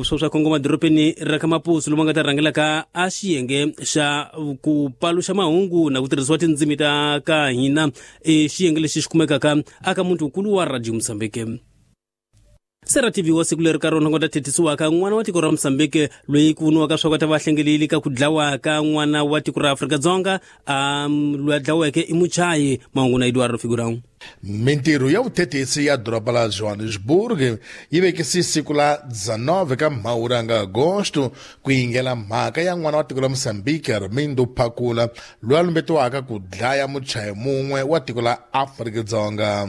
Swo swa kongoma dorobeni ra ka Mapuso lomu nga ta rhangelaka a xiyenge xa ku paluxa mahungu na ku tirhisiwa tindzimi ta ka hina i xiyenge lexi xi kumekaka aka muti wukulu wa Radio Mozambique. Sera TV wa siku leri ka rona ku ta thethisiwaka n'wana wa tiko ra Mozambique loyi ku voniwaka swa ku ta va hlengeleli ka ku dlawa ka n'wana wa tiko ra Afrika-Dzonga loyi a dlaweke i muchayi. Mahungu na Eduardo Figurão. Mintirho ya vuthethisi ya doroba la Johannesburg yi vekise siku la 19 ka Mhawuri nga Agosto ku yingela mhaka ya n'wana wa tiko la Mozambique Armindo Phakula loyi a lumbetiwaka ku dlaya muchayi mun'we wa tiko la Afrika-Dzonga.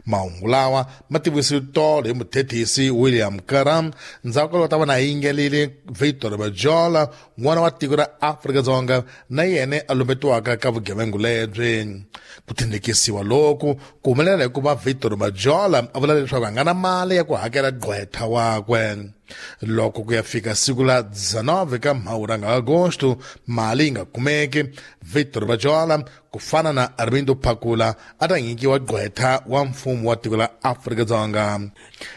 Mahungu lawa ma tivisiwe tolo hi muthethisi William Karam ndzhaku ka loko ta va na yingelile Victor Bajola n'wana wa tiko ra Afrika-Dzonga na yena a lumbetiwaka ka vugevengu lebyi. Ku tindikisiwa loku ku humelela hikuva Victor Bajola a vula leswaku a nga na mali ya ku hakela gqwetha wakwe. Loko ku ya fika siku la 19 ka Mhawuri nga Agosto mali yi nga kumeki, Victor Bajola ku fana na Armindo Phakula a ta nyikiwa gqwetha wa mfumo wa tiko la Afrika-Dzonga.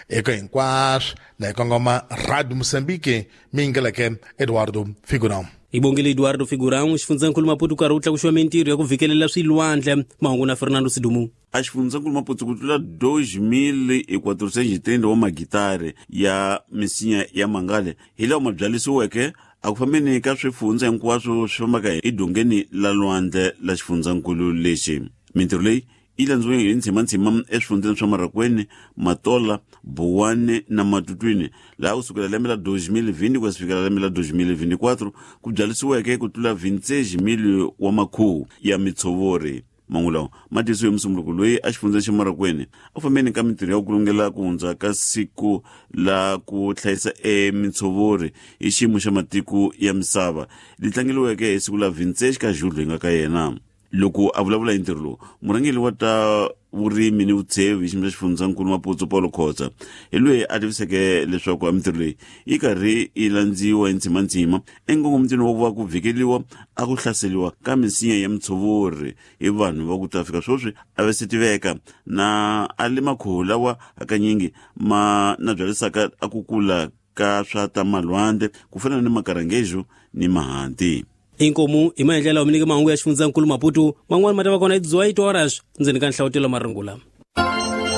Eka hinkwaswo na hi kongoma Radio Mozambique mi yingeleke Eduardo Figurão. Hi bongile Eduardo Figurão. Xifundzankulu Maputo karhi wu tlakuxiwa mintirho ya ku vhikelela swilwandle. Mahungu na Fernando Sidumu. A xifundzankulu Maputo ku tlula 2430 wa magitari ya misinya ya mangale hi lawa ma byalisiweke a ku fambeni ka swifundza hinkwaswo swi fambaka edongeni la lwandle la xifundzankulu lexi. Mintirho leyi yi landziwe hi ntshimantsima eswifundzeni swa Marakweni, Matola, Buwani na Matutwini, laha kusukela lembe la 2020 ku ya fikela lembe la 2024 ku byalisiweke ku tlula 26,000 wa makhuhu ya mitshovori. Mangu lawa ma tisiwe hi musunguluko loyi a xifundzeni xa Marakweni a fambeni ka mintirho ya ku kulungela ku hundza ka siku la ku hlayisa emitshovori hi xiyimo xa matiko ya misava li tlangeliweke hi siku la 26 ka Julho hi nga ka yena. Loko a vulavula hi ntirho lowu, murhangeri wa ta vurimi ni vutsheve hi xiyimo xa xifundzankulu Maputo Paulo Khotsa hi loyi a tiviseke leswaku a mintirho leyi yi karhi yi landziwa hi ntsimantsima enkongomitweni wa ku va ku vhikeliwa a ku hlaseliwa ka misinya ya mitshovori hi vanhu va ku ta fika sweswi a va se tiveka na a le makhuhu lawa hakanyingi ma na byalisaka a ku kula ka swa ta malwandle ku fana ni makarangejo ni mahanti. Inkomu hi maendlelo mi nyike mahungu ya xifundzankulu Maputo man'wana ma ta va kona hi 18 horas ndzeni ka nhlavutelo marungula.